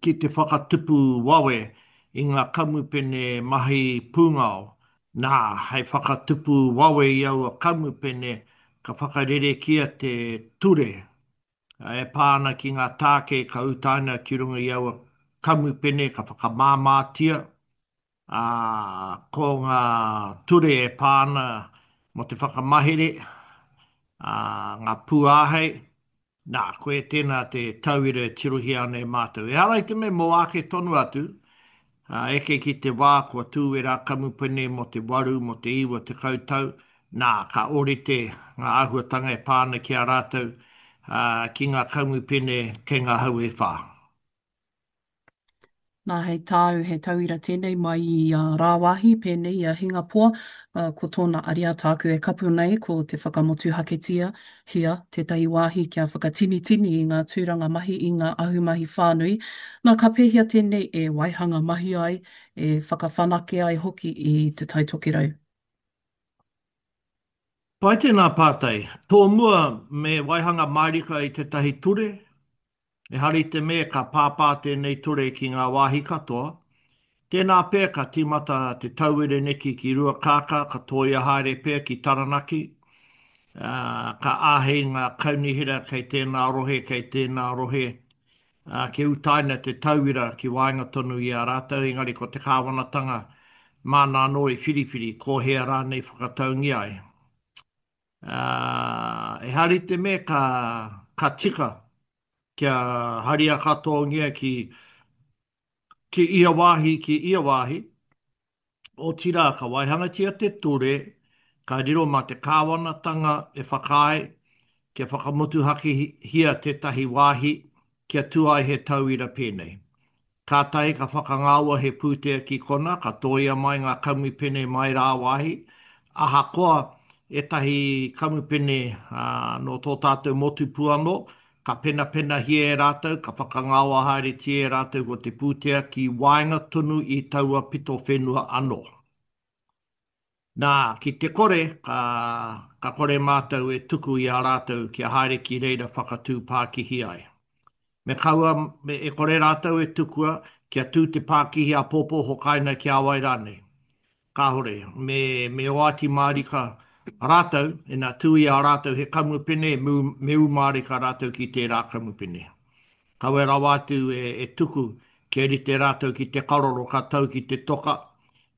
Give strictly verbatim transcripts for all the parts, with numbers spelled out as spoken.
ki te whakatupu wawe i ngā kamupene mahi pūngao. Nā, hei whakatupu wawe i aua kamupene, ka whakarerekia te ture e pā ana ki ngā tāke ka utaina ki runga i aua kamupene, ka whakamāmātia, ā, ko ngā ture e pā ana mō te whakamahere, ā, ngā pūāhei. Nā, koia tēnā te tauira e tirohia ana e mātou. Ehara i te mea mō ake tonu atu, ā, eke ki te wā kua tū ērā kamupene mō te waru, mō te iwa tekau tau, nā, ka ōrite ngā āhuatanga e pā ana ki a rātou, ā, ki ngā kamupene kei ngā hau e whā. Nā, hei tāu, he tauira tēnei mai i a rāwāhi, pēnei i a Hingapoa, ā, ko tōna ariā tāku e kapu nei ko te whakamotuhaketia hia tētahi wāhi kia whakatinitini i ngā tūranga mahi i ngā ahumahi whānui. Nā, ka pēhea tēnei e waihanga mahi ai, e whakawhanake ai hoki i Te Tai Tokerau? Pai tēnā pātai. Tōmua me waihanga mārika i tētahi ture, ehara i te mea ka pāpā tēnei ture ki ngā wāhi katoa. Tēnā pea ka tīmata te tauira neki ki Ruakākā, ka tōia haere pea ki Taranaki, ā, ka āhei ngā kaunihera kei tēnā rohe, kei tēnā rohe, ā, kia utaina te tauira ki waenga tonu i a rātou, engari ko te kāwanatanga māna anō i whiriwhiri ko hea rānei whakataungia ai. Ā, ehara i te mea ka, ka tika kia haria katoangia ki, ki ia wāhi, ki ia wāhi, Otirā, ka waihangatia te ture, ka riro mā te kāwanatanga e whakaae kia whakamotuhakehia tētahi wāhi kia tū ai he tauira pēnei. Kātahi ka whakangaoa he pūtea ki konā, ka tōia mai ngā kamupene mai rāwāhi, ahakoa ētahi kamupene nō tō tātou motu pū anō, Ka penapenahia e rātou, ka whakangaoa haeretia e rātou ko te pūtea ki waenga tonu i taua pito whenua anō. Nā, ki te kore, ka, ka kore mātou e tuku i a rātou kia haere ki reira whakatū pākihi ai. Me kaua, me, e kore rātou e tukua kia tū te pākihi āpōpō hokaina ki a wai rānei. Kāore, me, me oati mārika rātou, ina tū i a rātou he kamupene, me, me ū mārika rātou ki tērā kamupene. Kawe rawa atu e, e tuku kia rite rātou ki te karoro ka tau ki te toka,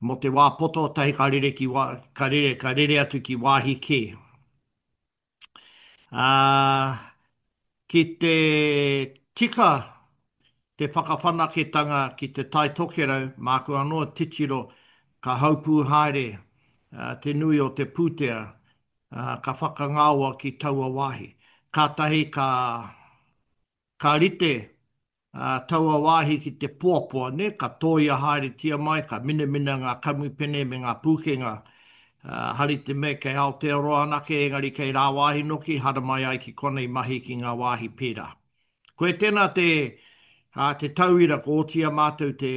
mō te wā poto, tahi ka rere ki wā, ka rere, ka rere atu ki wāhi kē. Ā, ki te tika te whakawhanaketanga ki Te Tai Tokerau, māku anō titiro ka haupū haere te nui o te pūtea ka whakangaoa ki taua wāhi. Kātahi ka, ka rite taua wāhi ki te poapoa, nē, ka tōia haeretia mai, ka minamina ngā kamupene me ngā pūkenga, hari te mea kei Aotearoa anake, engari kei rāwāhi noki, haramai ai ki konei mahi ki ngā wāhi pērā. Koe tēnā te, te tauira kua oti i a mātou te,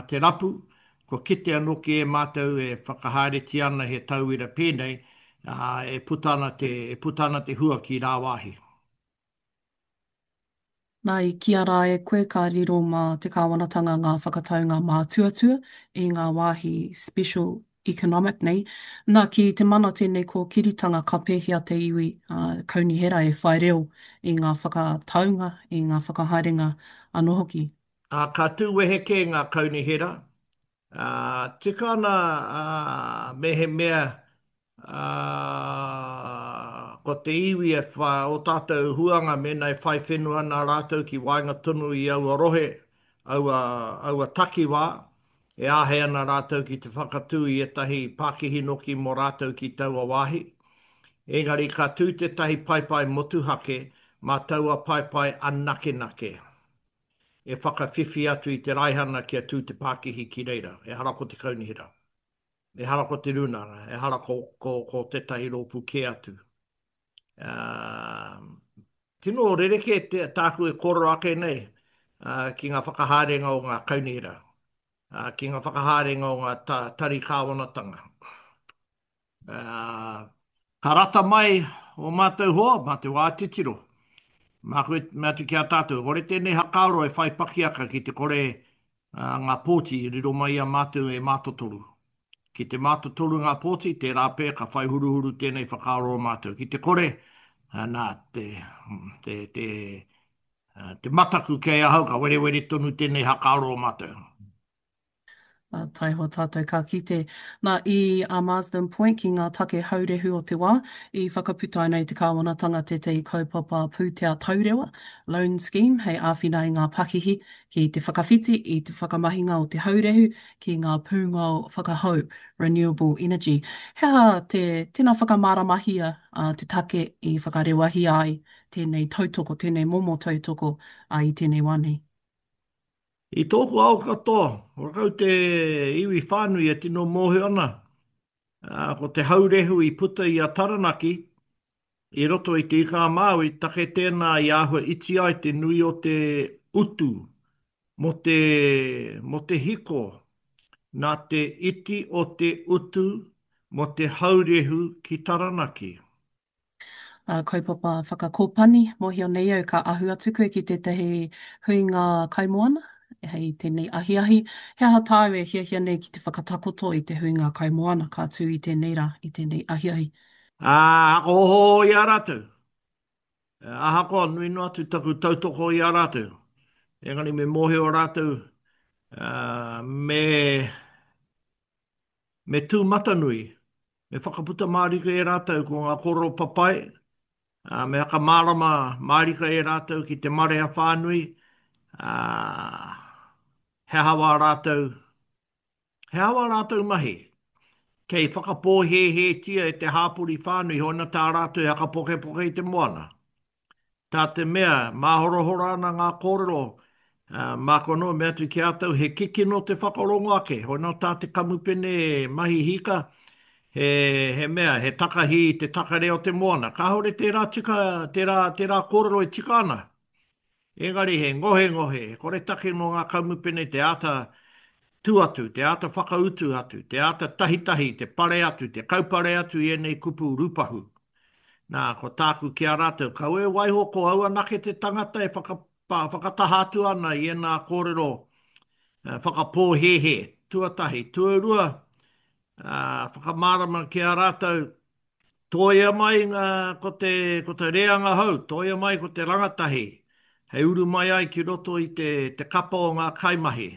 te rapu, kua kitea noki e mātou e whakahaeretia ana he tauira pēnei, e puta ana te, e puta ana te hua ki rāwāhi. Nā, i kīia rā e koe ka riro mā te kāwanatanga ngā whakataunga mātuatua i ngā wāhi special economic nei. Nā, ki te mana tēnei kōkiritanga ka pēhea te iwi kaunihera e whai reo i ngā whakataunga, i ngā whakahaerenga anō hoki? Ā, ka tū wehe kē ngā kaunihera, ā, tika ana, ā, mehemea Ā, ko te iwi e wha, ō tātou huanga mēnā e whai whenua ana rātou ki waenga tonu i aua rohe, aua, aua takiwā, e āhei ana rātou ki te whakatū i ētahi pākihi noki mō rātou ki taua wāhi. Engari ka tū tētahi paepae motuhake mā taua paepae anakenake e whakawhiwhi atu i te raihana kia tū te pākihi ki reira, ehara ko te kaunihera. Ehara ko te rūnanga, ehara ko, ko, ko tētahi rōpū kē atu. Uh, tino rerekē te, tāku e kōrero ake nei uh, ki ngā whakahaerenga o ngā kaunihera, uh, ki ngā whakahaerenga o ngā ta, tari kāwanatanga. Uh, ka rata mai o mātou hoa, mā te wā titiro. Māku e mea atu ki a tātou, e kore tēnei hakaaro e whai pakiaka ki te kore ngā pōti riro mai i a mātou e mātotoru. Ki te mātotoru ngā pōti, tērā pea ka whai huruhuru tēnei whakaaro o mātou. Ki te kore, nā, te, te, te, te mataku kei ahau ka werewere tonu tēnei hakaaro o mātou. Ā, taihoa tātou ka kite. Nā, i a Marsden Point ki ngā take haurehu o te wā, i whakaputaina e te kāwanatanga tētahi kaupapa pūtea taurewa, loan scheme, hei āwhina i ngā pakihi ki te whakawhiti i te whakamahinga o te haurehu ki ngā pūngao whakahou, renewable energy. He aha te, tēnā whakamāramahia te take i whakarewahia ai tēnei tautoko, tēnei momo tautoko i tēnei wā nei? I tōku ao katoa, horakau te iwi whānui e tino mōhio ana, ko te haurehu i puta i a Taranaki i roto i Te Ika-a-Māui, take tēnā i āhua iti ai te nui o te utu mō te, mō te hiko, nā te iti o te utu mō te haurehu ki Taranaki. Ā, kaupapa whakakōpani, mōhio nei au ka ahu atu koe ki tētahi huinga kaimoana hei tēnei ahiahi. He aha tāu e hiahia nei ki te whakatakoto i te huinga kaimoana ka tū i tēnei rā, i tēnei ahiahi? Ā, whakaohooho i a rātou. Ahakoa nui noa atu taku tautoko i a rātou, engari me mōhio rātou, ā, me, me tūmatanui, me whakaputa mārika e rātou ko ngā kōrero papai, ā, me whakamārama mārika e rātou ki te marea whānui, ā, he aha wā rātou, he aha wā rātou mahi, kei whakapōhēhētia e te hāpori whānui hoina tā rātou e whakapokepoke i te moana. Tā te mea, māhorahora ana ngā kōrero, ā, māku anō e mea atu ki a tou, he kikino te whakarongo ake, hoi nō tā te kamupene mahi hika, he, he mea, he takahi i te takare o te moana. Kāore tērā tika, tērā, tērā kōrero e tika ana. Engari he ngohengohe, he koretake nō ngā kamupene te āta tū atu, te āta whakautu atu, te āta tahitahi, te pare atu, te kaupare atu i ēnei kupu rūpahu. Nā, ko tāku ki a rātou, kaua e waiho ko au anake te tangata e whakataha atu ana i ēnā kōrero whakapōhēhē, tuatahi. Tuarua, whakamārama ki a rātou, tōia mai ngā, ko te, ko te reanga hou, tōia mai ko te rangatahi, hei uru mai ai ki roto i te, te kapa o ngā kaimahi.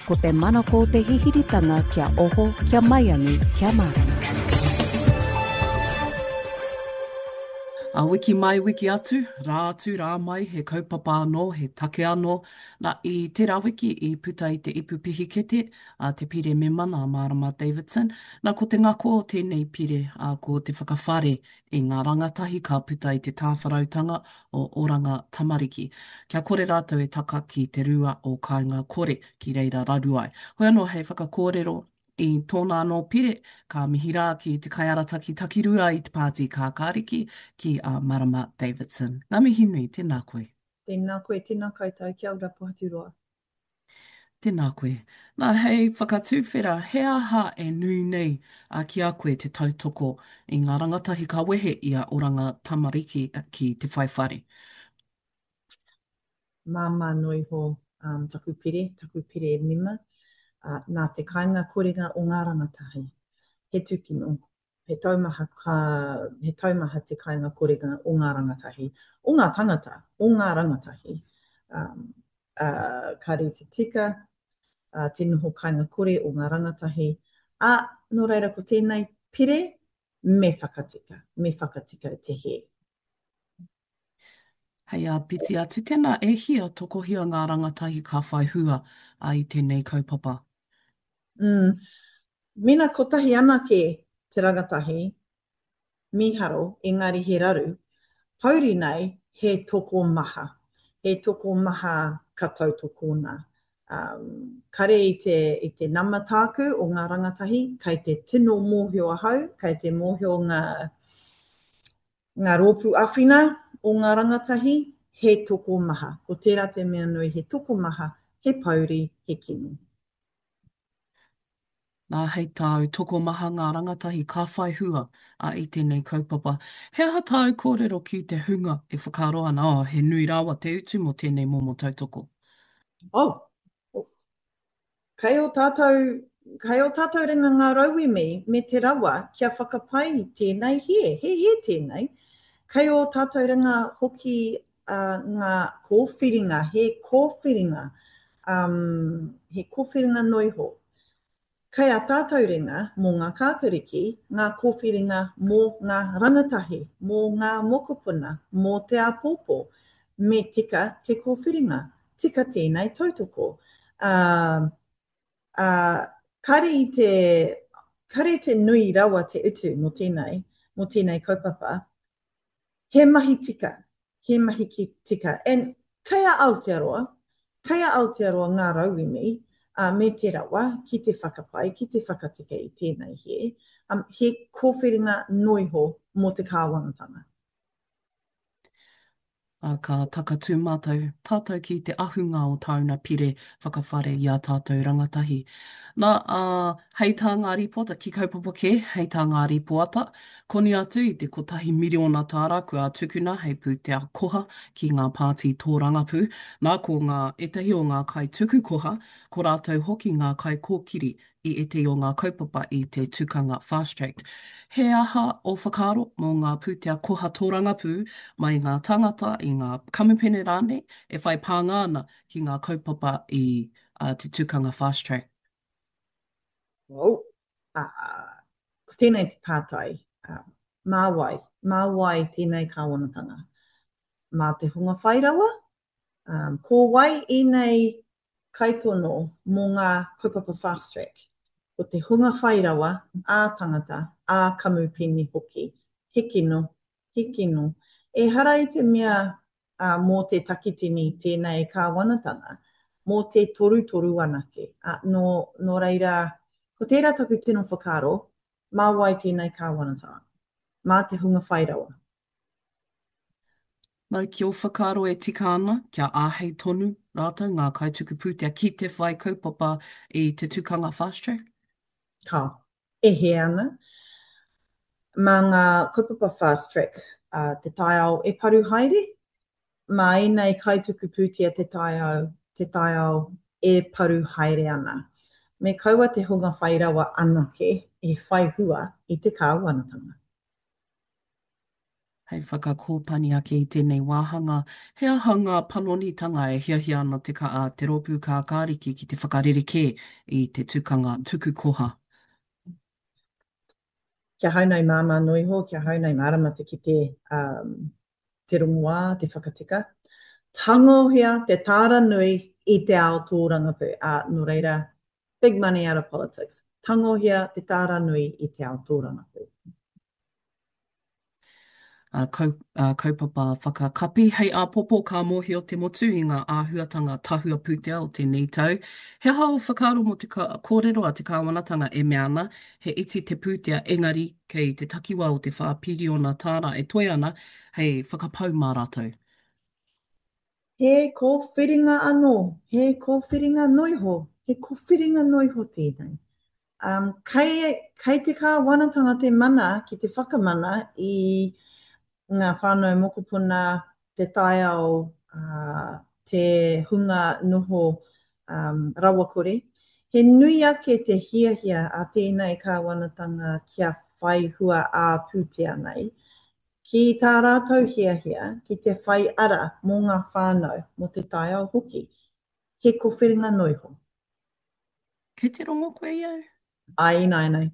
Ko te manako te hihiritanga kia oho, kia maiangi, kia mārama. A wiki mai, wiki atu, rā atu, rā mai, he kaupapa anō, he take anō. Nā, i tērā wiki i puta i te ipu pihikete a te pire mema nā Mārama Davidson. Nā, ko te ngako o tēnei pire, ā, ko te whakawhare i ngā rangatahi ka puta i te tāwharautanga o Oranga Tamariki, kia kore rātou e taka ki te rua o Kāinga Kore, ki reira raru ai. Hoi anō hei whakakōrero i tōna anō pire, ka mihi rā ki te kaiarataki takirua i te Pāti Kākāriki, ki a Marama Davidson. Ngā mihi nui, tēnā koe. Tēnā koe, tēnā koutou, kia ora Pohaturoa. Tēnā koe. Nā, hei whakatuwhera, he aha e nui nei ki a koe te tautoko i ngā rangatahi ka wehe i a Oranga Tamariki ki te whai whare? Māmā noa iho um, taku pere, taku pere mema, uh, nā te kainga korenga o ngā rangatahi. He tūkino, he taumaha, ka, he taumaha te kainga korenga o ngā rangatahi, o ngā tangata, o ngā rangatahi. Um, ā, kāre i te tika, ā, te noho kāinga kore o ngā rangatahi, ā, nō reira ko tēnei pere me whakatika, me whakatika te hē. Hei āpiti atu, tēnā e hia tokohia ngā rangatahi ka whai hua i tēnei kaupapa? Mm. Mena kotahi anake te rangatahi, Mīharo, engari he raru. Pouri nei, he tokomaha. He tokomaha ka tautokona. Um, kare i te, i te nama tāku o ngā rangatahi, kei te tino mōhio ahau, kei te mōhio ngā, ngā rōpū awhina o ngā rangatahi, he tokomaha. Ko tērā te mea nui, he tokomaha, he pouri, he kino. Nā, hei tāu, tokomaha ngā rangatahi ka whai hua a i tēnei kaupapa. He aha tāu kōrero ki te hunga e whakaaro ana, oh, he nui rawa te utu mō tēnei momo tautoko? Oh, kei ō tātou, kei ō tātou ringa ngā rauemi me te rawa kia whakapai tēnei hē, he hē tēnei. Kei ō tātou ringa hoki uh, ngā kōwhiringa, he kōwhiringa, um, he kōwhiringa noiho. Kei a tātou ringa mō ngā kākariki, ngā kōwhiringa mō ngā rangatahi, mō ngā mokopuna, mō te āpōpō. Me tika te kōwhiringa, tika tēnei tautoko. Uh, uh, kare i te, kare te nui rawa te utu mō tēnei, mō tēnei kaupapa. He mahi tika, he mahi ki tika. And kei a Aotearoa, kei a Aotearoa ngā rauemi uh, me te rawa ki te whakapai, ki te whakatika i tēnei he, um, he kōwhiringa noiho mō te kāwanatanga. Ā, ka takatū mātou, tātou ki te ahunga o tāuna pire whakawhare i ā tātou rangatahi. Nā, ā, hei tā ngā rīpoata, ki kaupapa kē, hei tā ngā rīpoata, koni atu i te kotahi miriona tāra kua tukuna hei pūtea koha ki ngā pāti tōrangapū. Nā, ko ngā, ētahi o ngā kaituku koha, ko rātou hoki ngā kaikōkiri i ētahi o ngā kaupapa i te tukanga Fast Track. He aha ō whakaaro mō ngā pūtea koha tōrangapū mai i ngā tāngata, i ngā kamupene rānei e whai pānga ana ki ngā kaupapa i te tukanga Fast Track? Well, uh, ko tēnei te pātai, uh, mā wai? Mā wai tēnei kāwanatanga? Mā te hunga whai rawa? Um, ko wai ēnei kaitono mō ngā kaupapa Fast Track? Ko te hunga whai rawa, ā-tangata, ā-kamupene hoki. He kino, he kino. Ehara i te mea uh, mō te takitini tēnei kāwanatanga, mō te torutoru anake. Uh, nō, nō reira, ko tērā taku tino whakaaro, mā wai tēnei kāwanatanga? Mā te hunga whai rawa. Nā, ki ō whakaaro e tika ana kia āhei tonu rātou ngā kaituku pūtea ki te whai kaupapa i te tukanga Fast Track? Ka, e hē ana. Mā ngā kaupapa Fast Track uh, te taiao e paru haere, mā ēnei kaituku pūtea te taiao, te taiao e paru haere ana. Me kaua te hunga whai rawa anake e whai hua i te kāwanatanga. Hei whakakōpani ake i tēnei wāhanga, he aha ngā panonitanga e hiahia ana te, ka, te rōpū kākāriki ki te whakarerekē i te tukanga tuku koha? Kia hau nei māmā noa iho, kia hau nei mārama te kite um, te rongoā, te whakatika. Tangohia te tāra nui i te ao tōrangapū. Uh, nō reira, big money out of politics. Tangohia te tāra nui i te ao tōrangapū. Uh, kau, uh, kaupapa whakakapi. Hei āpōpō ka mōhio te motu i ngā āhuatanga tahua pūtea o tēnei tau. He aha ō whakaaro mō te kōrero a te kāwanatanga e mea ana, he iti te pūtea engari kei te takiwā o te whā piriona tāra e toe ana hei whakapau mā rātou? He kōwhiringa anō, he kōwhiringa noiho, he kōwhiringa noiho tēnei. Um, kei, kei te kāwanatanga te mana ki te whakamana i ngā whānau mokopuna, te taiao, uh, te hunga noho um, rawakore. He nui ake te hiahia a tēnei kāwanatanga kia whai hua ā-pūtea nei, ki tā rātou hiahia ki te whai ara mō ngā whānau, mō te taiao hoki. He kōwhiringa noiho. Kei te rongo koe i au? Ai, ināianei.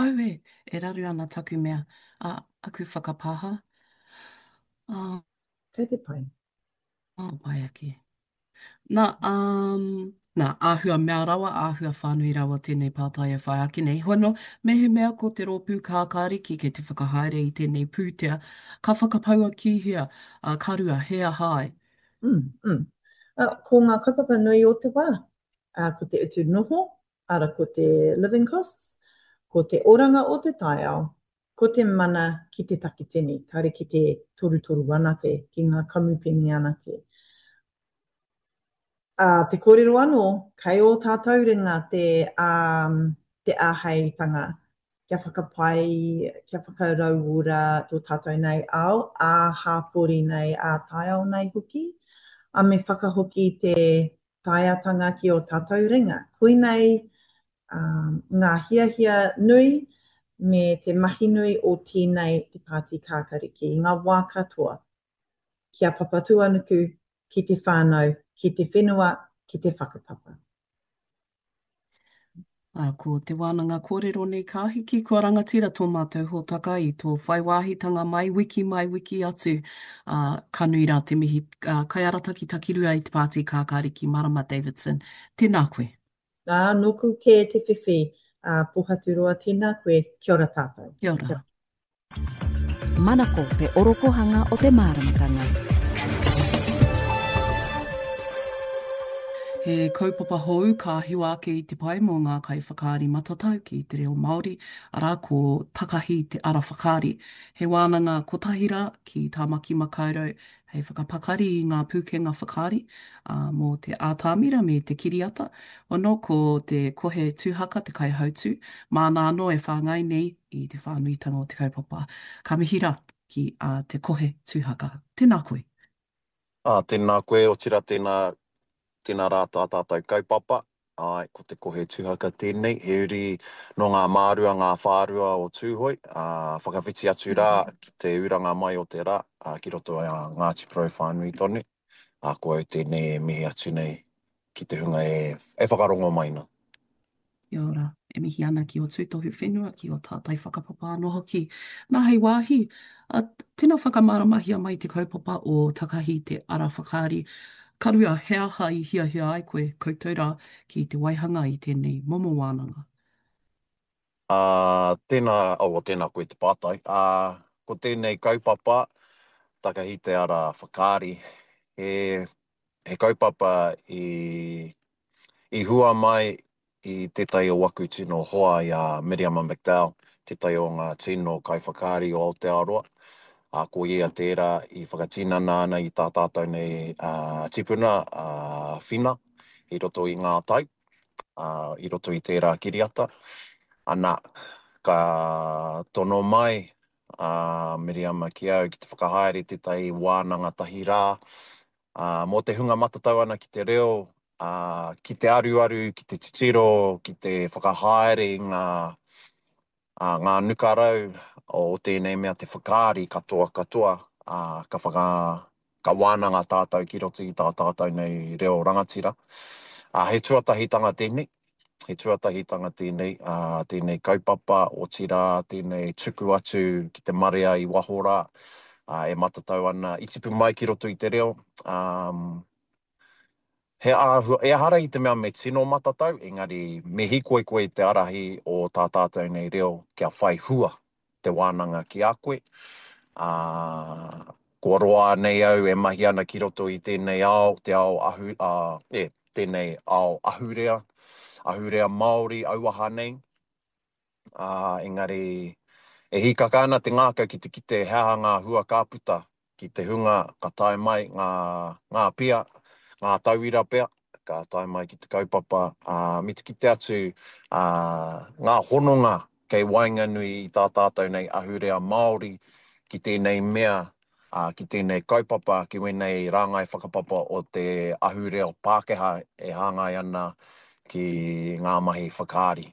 Auē, e raru ana taku mea, a, aku whakapāha. Ā. Kei te pai. Ā, pai ake. Nā, um, nā, āhua mea rawa, āhua whānui rawa tēnei pātai e whai ake nei. Hoi anō, mehemea ko te rōpū kākāriki kei te whakahaere i tēnei pūtea, ka whakapaua ki hea, ā, ka rua, he aha ai? Mm, mm. Uh, ko ngā kaupapa nui o te wā, uh, ko te utu noho, ara ko te living costs, ko te oranga o te taiao, ko te mana ki te takitini, kāre ki te torutoru anake, ki ngā kamupene anake. Ā, te kōrero anō, kei ō tātou ringa te, um, te āheitanga kia whakapai, kia whakarauora tō tātou nei ao, ā-hāpori nei, ā-taiao nei hoki, a me whakahoki te taeatanga ki ō tātou ringa. Koinei um, ngā hiahia nui me te mahi nui o tēnei te Pāti Kākāriki i ngā wā katoa. Ki a Papatūānuku, ki te whānau, ki te whenua, ki te whakapapa. Ā, ko te wānanga kōrero nei ka hiki, kua rangatira tō mātou hōtaka i tō whai wāhitanga mai wiki mai wiki atu. Ā, ka nui rā te mihi, ā, kaiarataki takirua i te Pāti Kākāriki Marama Davidson. Tēnā koe. Ā, nōku kē te whiwhi, ā, Pōhaturoa, tēnā koe, kia ora tātou. Kia ora. Manako te orokohanga o te māramatanga. He kaupapa hou ka hiwa ake i te pae mō ngā kaiwhakaari matatau ki te reo Māori, arā, ko Takahi te Ara Whakaari. He wānanga kotahi rā ki Tāmaki Makaurau hei whakapakari i ngā pūkenga whakaari mō te ātamira me te kiriata. Ono, ko te Kohe Tūhaka te kaihautū, māna anō e whāngai nei i te whānuitanga o te kaupapa. Ka mihi rā ki a Te Kohe Tūhaka. Tēnā koe. Ā, tēnā koe, otirā tēnā, tēnā rā tā tātou kaupapa. Āe, ko Te Kohe Tuhaka tēnei, he uri nō ngā mārua, ngā whārua o Tūhoe, ā, whakawhiti atu rā ki te uranga mai o te rā, ā, ki roto i a Ngāti Porou whānui tonu. Ā, ko au tēnei e mihi atu nei ki te hunga e, e whakarongo mai nā. Kia ora. E mihi ana ki ō tūtohu whenua, ki ō tātai whakapapa anō hoki. Nā, hei wāhi, ā, tēnā whakamāramahia mai te kaupapa o Takahi te Ara Whakaari. Ka rua, he aha i hiahia ai koe, koutou rā, ki te waihanga i tēnei momo wānanga? Ā, tēnā, oh, tēnā koe te pātai. Ā, ko tēnei kaupapa, Takahi te Ara Whakaari, he, he kaupapa i, i hua mai i tētahi o waku tino hoa i a Miriama McDowell, tētahi o ngā tino kaiwhakaari o Aotearoa, ā, ko ia tērā i whakatinana ana i tā tātou nei tipuna, a Whina, i roto i ngā tau, ā, i roto i tērā kiriata. Ana, ka tono mai a Miriama ki au ki te whakahaere tētahi wānanga tahi rā, ā, mō te hunga matatau ana ki te reo, ā, ki te aruaru, ki te titiro, ki te whakahaere i ngā, ā, ngā nukarau o tēnei mea te whakaari katoa katoa, ā, ka whaka, ka wānanga tātou ki roto i tā tātou nei reo rangatira. Ā, he tuatahitanga tēnei, he tuatahitanga tēnei, ā, tēnei kaupapa, otirā, tēnei tuku atu ki te marea i waho rā, ā, e matatau ana, i tipu mai ki roto i te reo, ā, he āhua, ehara i te mea me tino matatau, engari me hīkoi koe i te arahi o tā tātou nei reo kia whai hua te wānanga ki a koe, ā, kua roa nei au e mahi ana ki roto i tēnei ao, te ao ahu, ā, e, tēnei ao ahurea, ahurea Māori auaha nei, ā, engari e hīkaka ana te ngākau ki te kite he aha ngā hua ka puta ki te hunga ka tae mai ngā, ngā pia, ngā tauira pea, ka tae mai ki te kaupapa, ā, me te kite atu, ā, ngā hononga kei waenganui i tā tātou nei ahurea Māori ki tēnei mea, ā, ki tēnei kaupapa, ki wēnei rāngai whakapapa o te ahurea Pākehā e hāngai ana ki ngā mahi whakaari.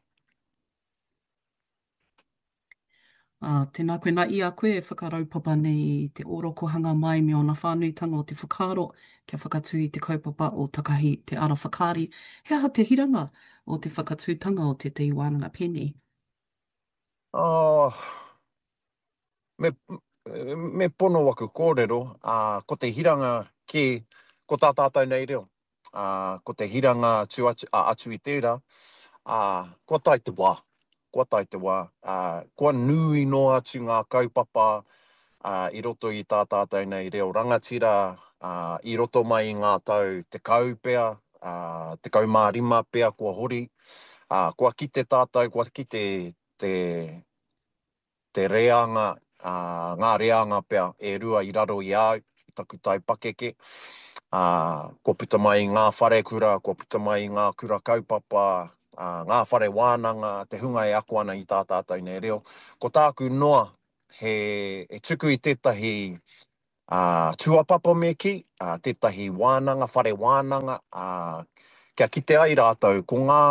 Ā, tēnā koe, nā i a koe e whakaraupapa nei i te ōrokohanga mai me ōna whānuitanga o te whakaaro kia whakatū i te kaupapa o Takahi Te Ara Whakaari, he aha te hiranga o te whakatūtanga o tētahi wānanga pēnei? Oh, me, me pono waku kōrero, ā, ko te hiranga kē, ko tā tātou nei reo. Ā, ko te hiranga atu, atu, ā, atu i tērā, ā, kua tae te wā, kua tae te wā, ā, kua nui noa atu ngā kaupapa, ā, i roto i tā tātou nei reo rangatira, ā, i roto mai i ngā tau tekau pea, ā, tekau mā rima pea kua hori, ā, kua kite tātou, kua kite te, te reanga, ā, ngā reanga pea e rua i raro i a au, i taku taipakeke, ā, kua puta mai i ngā wharekura, kua puta mai i ngā kura kaupapa, ā, ngā whare wānanga, te hunga e ako ana i tā tātou nei reo. Ko tāku noa, he, he tuku i tētahi ā, tūāpapa me kī, ā, tētahi wānanga, whare wānanga, ā, kia kite ai rātou ko ngā,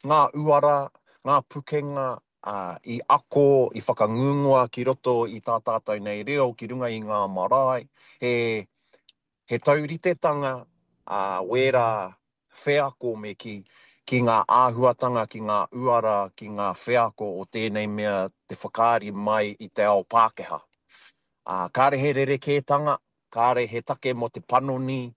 ngā uara, ngā pukenga, ā, i ako, i whakangungua ki roto i tā tātou nei reo, ki runga i ngā marae, he, he tauritetanga, ā, wērā wheako me kī, ki ngā āhuatanga, ki ngā uara, ki ngā wheako o tēnei mea te whakaari mai i te ao Pākehā. Ā, kāre he rerekētanga, kāre he take mō te panoni,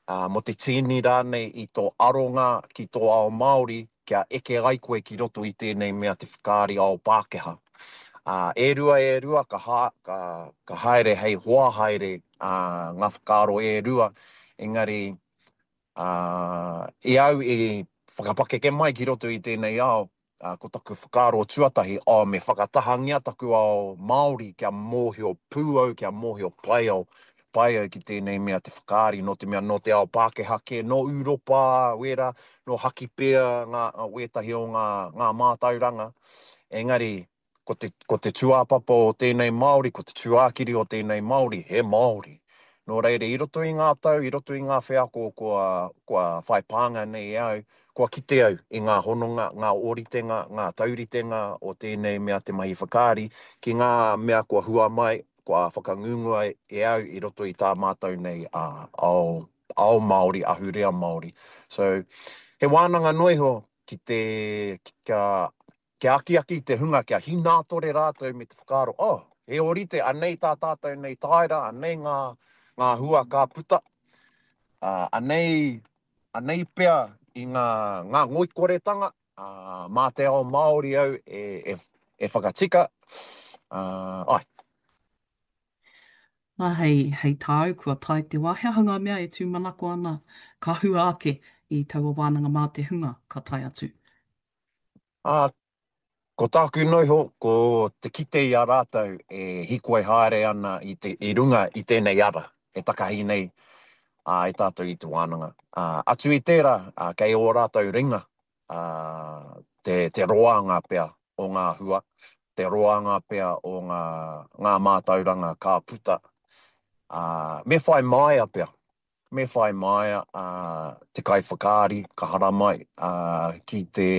ā, mō te tīni rānei i tō aronga ki tō ao Māori kia eke ai koe ki roto i tēnei mea te whakaari ao Pākehā. Ā, e rua e rua ka, ha, ka, ka haere hei hoa haere ā, ngā whakaaro e rua, engari Ā, i au i whakapakeke mai ki roto i tēnei ao, ā, ko taku whakaaro tuatahi, oh, me whakatahangia taku ao Māori kia mōhio pū au, kia mōhio pai au, pai au ki tēnei mea te whakaari, nō te mea nō te ao Pākehā kē, nō Ūropa, wērā, nō Hakipea ngā, wētahi o ngā, ngā mātauranga. Engari, Ko te, ko te tūāpapa o tēnei Māori, ko te tūākiri o tēnei Māori, he Māori. Nō reira, i roto i ngā tau, i roto i ngā wheako kua, kua whai pānga nei e au, kua kite au i ngā hononga, ngā ōritenga, ngā tauritenga o tēnei mea te mahi whakaari ki ngā mea kua hua mai, kua whakangungua e au i roto i tā mātou nei ao, ao Māori, ahurea Māori. So, he wānanga noa iho ki te, kia Kia akiaki te hunga kia hinātore rātou me te whakaaro, oh, he ōrite, anei tā tātou nei tāera, anei ngā, ngā hua ka puta, ā, anei, anei pea i ngā, ngā ngoikoretanga, ā, mā te ao Māori au e, e, e whakatika, ā, āe. Nā, hei, hei tāu, kua tae te wā, he aha ngā mea e tūmanako ana ka hua ake i taua wānanga mā te hunga ka tae atu? Ā, ko tāku noa iho, ko te kite i a rātou e hīkoi haere ana i te, i runga i tēnei ara e takahi nei ā, e tātou i te wānanga. Ā, atu i tērā, ā, kei ō rātou ringa, ā, te, te roanga pea o ngā hua, te roanga pea o ngā, ngā mātauranga ka puta, ā, me whai māia pea. Me whai māia te kaiwhakaari ka haramai ki te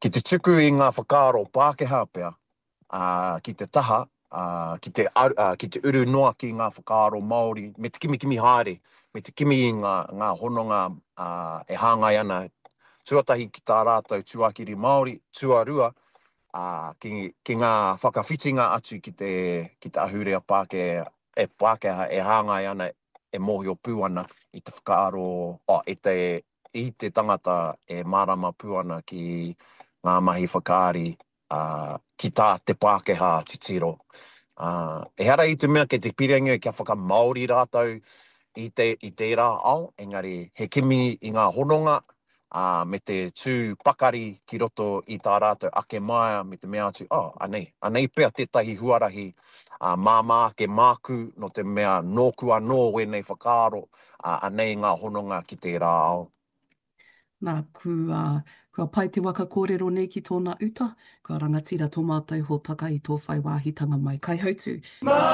ki te tuku i ngā whakaaro Pākehā pea ki te taha, ki te ki te uru noa ki ngā whakaaro Māori me te kimikimi haere, me te kimi i ngā ngā hononga e hāngai ana tuatahi ki tā rātou tuakiri Māori, tuarua ki ki ngā whakawhitinga atu ki te ki te ahurea Pākehā e Pākehā e hāngai ana e mōhio pū ana i te whakaaro, oh, i te, i te tangata e mārama pū ana ki ngā mahi whakaari, ā, ki tā te Pākehā titiro. Ā, ehara i te mea kei te pirangi kia whakamāori rātou i te, i tērā ao, engari he kimi i ngā hononga, ā, me te tū pakari ki roto i tā rātou ake māia me te mea atu, oh, anei, anei pea tētahi huarahi, ā, māmā ake māku nō te mea nōku anō wēnei whakaaro, ā, anei ngā hononga ki tērā ao. Nā, kua, kua pai te waka kōrero nei ki tōna uta, kua rangatira tō mātou hōtaka i tō whai wāhitanga mai. Kaihautū.